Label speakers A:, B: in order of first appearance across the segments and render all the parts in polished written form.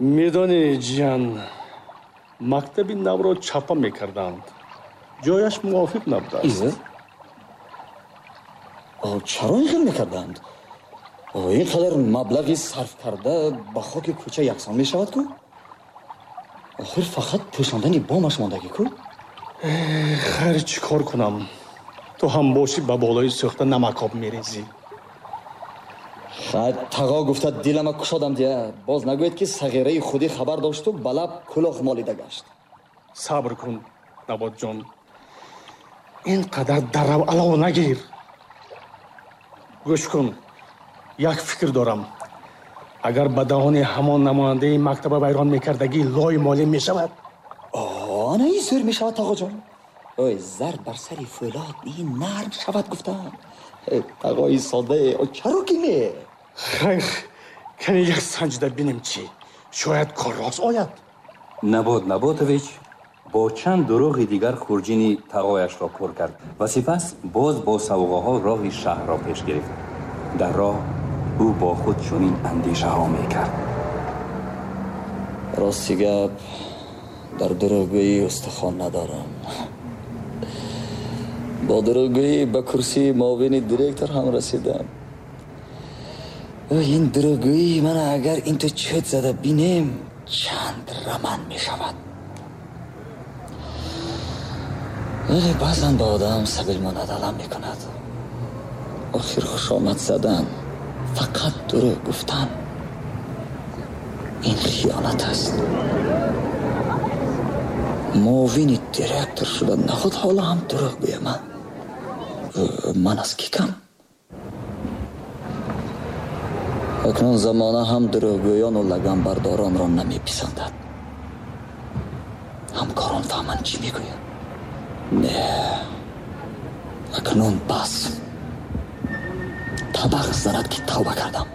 A: Медонӣ, ҷиян, мактаби навро чапа мекарданд. Ҷояш мувофиқ набудааст.
B: Чаро ин хел мекарданд? Ин қадар маблағи сарф карда ба хоки кӯча яксон мешавад ку? Охир фақат пӯшондани бомаш мондагӣ ку?
A: Хайр, чӣ кор кунам? Ту ҳам бошӣ ба болои сӯхта намакоб мерезӣ.
B: Хайр, тағо гуфта дилама кушодам дия. Боз нагӯед, ки сағираи худӣ хабар дошту ба лаб кулоҳ молида гашт.
A: Сабр кун, Наботҷон. Ин қадар дарав алов нагир. Гӯш кун, як фикр дорам. Агар ба даҳони ҳамон намояндаи мактаба вайрон мекардагӣ лой молӣ мешавад?
B: Ана ин зӯр мешавад, тағоҷон. Ой, зарб бар сари фӯлод ин нарм шавад гуфтам. Тағои содае, чаро ки не?
A: Хайр, кане як санҷида бинем чӣ. Шояд кор рост ояд.
C: Набот Наботович бо чанд дурӯғи дигар хурҷини тағояшро пур кард ва сипас боз бо савғоҳо роҳи шаҳрро пеш гирифт. Дар роҳ ӯ бо худ чунин андешаҳо мекард.
B: Рости гап, дар дурӯғгӯӣ устухон надорам. Бо дурӯғгӯӣ ба курсии муовини директор ҳам расидам. Ин дурӯғгӯии ман агар инту чӯт зада бинем, чанд раман мешавад. Вале баъзан ба одам сабил монад алам мекунад. Охир хушомад задан, фақат дурӯғ гуфтан, ин хиёнат аст. Муовини директор шуда наход ҳоло ҳам дурӯғ гӯям ман. Ман аз кӣ кам? Акнун замона ҳам дурӯғгӯёну лаганбардоронро намеписандад. Ҳамкорон фаҳманд чӣ мегӯянд. Не, акнун бас. Табақ занад, ки тавба кардам.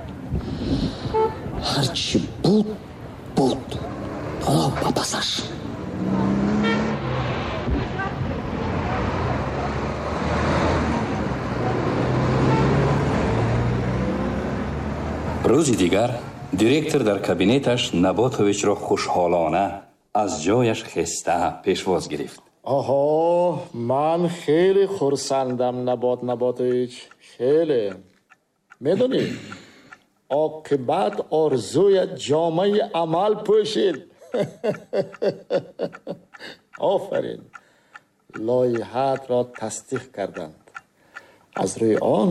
B: Ҳарчи буд, буд. Ҳоло ба пасаш.
C: Рӯзи дигар директор дар кабинеташ Наботовичро хушҳолона аз ҷояш хеста пешвоз гирифт.
D: Оҳо, ман хеле хурсандам, Набот Наботович, хеле. Медонӣ, оқибат орзуят ҷомаи амал пӯшид. Офарин, лоиҳаатро тасдиқ карданд. Аз рӯи он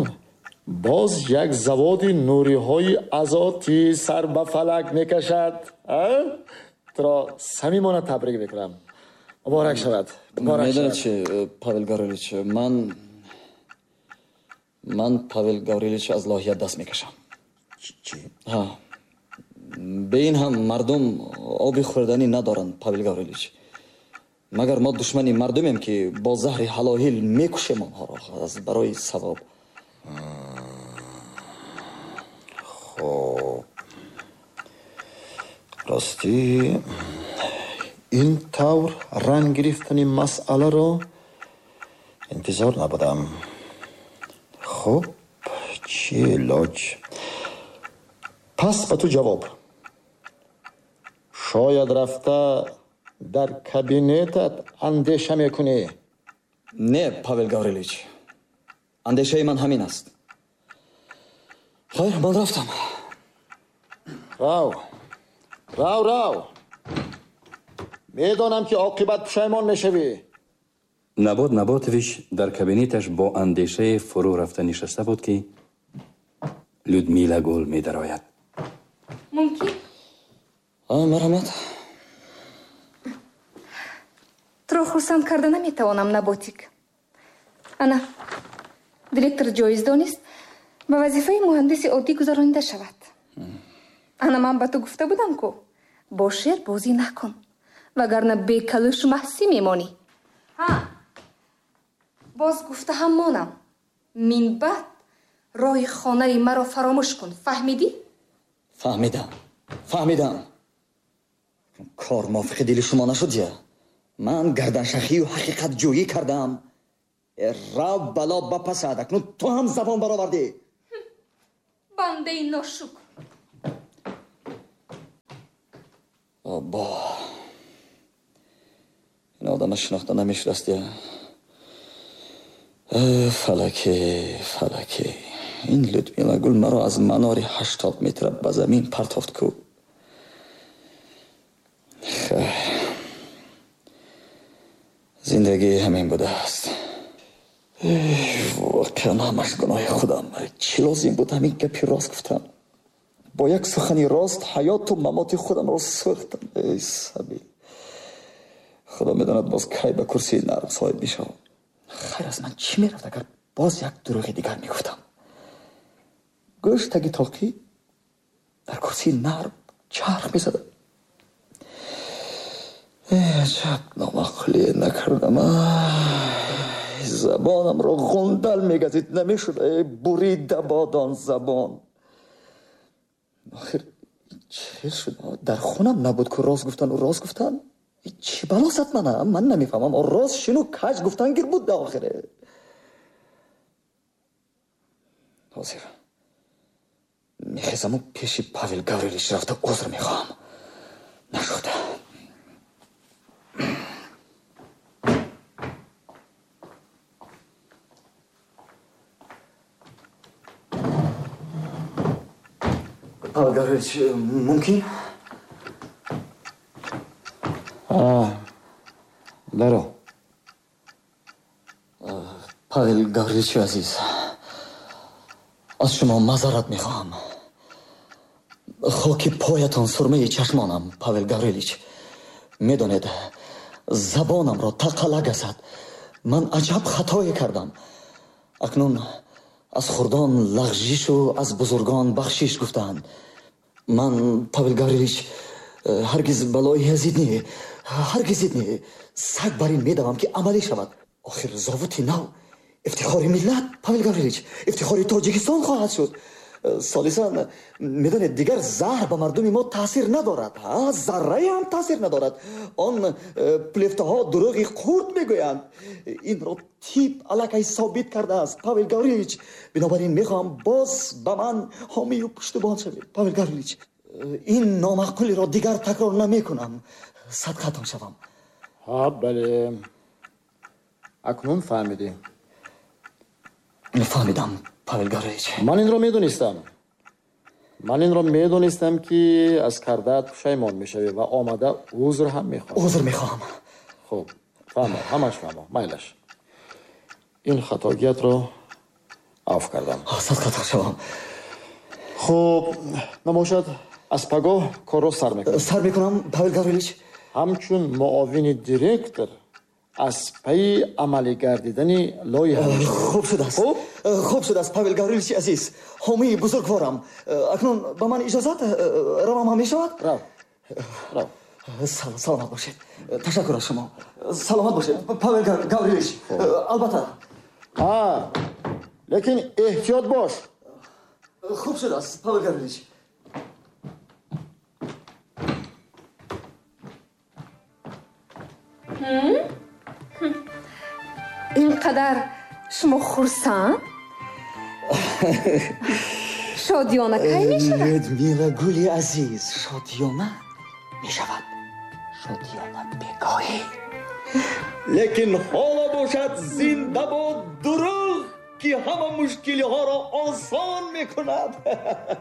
D: боз як заводи нуриҳои азотӣ сар ба фалак мекашад. Туро самимона табрик мекунам. Муборак шавад.
B: Медонед чи, Павел Гаврилович, ман Павел Гаврилович аз лоиҳа даст мекашам.
D: Чӣ?
B: Бе ин ҳам мардум оби хӯрданӣ надоранд, Павел Гаврилович. Магар мо душмани мардумем, ки бо заҳри ҳалоҳил мекушем онҳоро аз барои савоб?
D: Хоб, ростӣ ин тавр ранг гирифтани масъаларо интизор набудам. Хуб, чӣ илоҷ? Пас ба ту ҷавоб. Шояд рафта дар кабинетат андеша мекунӣ.
B: Не, Павел Гаврилович, андешаи ман ҳамин аст. Хайр, ман рафтам.
D: Рав, рав, рав. Медонам, ки оқибат пушаймон мешавӣ.
C: Набот Наботович дар кабинеташ бо андешае фурӯ рафта нишаста буд, ки Людмила Гул медарояд.
E: Мумкин?
B: Марҳамат.
E: Туро хурсанд карда наметавонам, Наботик. Ана, директор ҷоиз донист ба вазифаи муҳандиси оддӣ гузаронида шавад. Ана ман ба ту гуфта будам ку, бо шер бозӣ накун, вагарна бекалӯшу маҳсӣ мемонӣ. Ҳа, боз гуфта ҳам монам, минбаъд роҳи хонаи маро фаромӯш кун, фаҳмидӣ?
B: Фаҳмидам, фаҳмидам. Кор мувофиқи дили шумо нашуд я? Ман гарданшахию ҳақиқатҷӯӣ кардам. Рав, бало ба пасад, акнун ту ҳам забон баровардӣ.
E: Бандаи ношукр.
B: Бобо, ин одама шинохта намешудаст. Я фалаке, фалаке, ин Людмила гул маро аз манори 80 метра ба замин партофт ку. Зиндагӣ ҳамин будааст. Воқеан ҳамаш гуноҳи худам. Чӣ лозим буд ҳамин гапи рост гуфтам? Бо як сухани рост ҳаёту мамоти худамро сӯхтам. Эй сабил, худо медонад боз кай ба курсии нарм соҳиб мешавам. Хайр, аз ман чӣ мерафт, агар боз як дурӯғи дигар мегуфтам? Гӯш таги тоқӣ дар курсии нарм чарх мезадам. Аҷаб номаъқулие накардам. Забонамро ғундал мегазид, намешуд. Бурида бод он забон. Охир чӣ шуд? Дар хунам набуд ку рост гуфтану рост гуфтан. Чӣ бало зад мана? Ман намефаҳмам. Рост шину каҷ гуфтан гир буд охире. Ҳозир мехезаму пеши Павел Гаврилович рафта узр мехоҳам. Нашуд. Павел Гаврилович, мумкин?
D: Даро.
B: Павел Гавриловичи азиз, аз шумо маъзарат мехоҳам. Хоки поятон сурмаи чашмонам, Павел Гаврилович. Медонед, забонамро тақала газад. Ман аҷаб хатое кардам. Акнун аз хурдон лағжишу аз бузургон бахшиш гуфтаанд. Ман, Павел Гаврилович, ҳаргиз балои язид не, ҳаргиз не. Саг бар ин медавам, ки амалӣ шавад. Охир зовути нав ифтихори миллат, Павел Гаврилович, ифтихори Тоҷикистон хоҳад шуд. Солисан, медонед, дигар заҳр ба мардуми мо таъсир надорад. Заррае ҳам таъсир надорад. Он плефтаҳо дурӯғи хурд мегӯянд. Инро тип аллакай собит кардааст, Павел Гаврилович. Бинобар ин мехоҳам боз ба ман ҳомию пуштубон шавед, Павел Гаврилович. Ин номаъқулиро дигар такрор намекунам. Садқатон шавам.
D: Ҳа, бале, акнун фаҳмидӣ.
B: Фаҳмидам, Павел Гаврилович.
D: Ман инро медонистам. Ман инро медонистам, ки аз кардаат пушаймон мешавӣ ва омада узр ҳам мехоҳӣ.
B: Узр мехоҳам.
D: Хуб, фаҳмо, ҳамаш фаҳмо, майлаш. Ин хатогиятро афв кардам.
B: Садқатон шавам.
D: Хуб, набошад, аз пагоҳ корро сар мекунам.
B: Сар мекунам, Павел Гаврилович.
D: Ҳамчун муовини директор аз пайи амалӣ гардидани лоиҳа.
B: Хуб шудааст, хуб шудааст, Павел Гавриловичи азиз, ҳомии бузургворам. Акнун ба ман иҷозат равам ҳам мешавад?
D: Рав, рав.
B: Саломат бошед. Ташаккур аз шумо. Саломат бошед, Павел Гаврилович. Албатта.
D: Лекин эҳтиёт бош.
B: Хуб шудааст, Павел Гаврилович.
E: Ин қадар шумо хурсанд? Шодиёна кай мешавад?
B: Людмила гули азиз, шодиёна мешавад. Шодиёна бегоҳӣ. Лекин ҳоло бошад, зинда бод дурӯғ, ки ҳама мушкилиҳоро осон мекунад.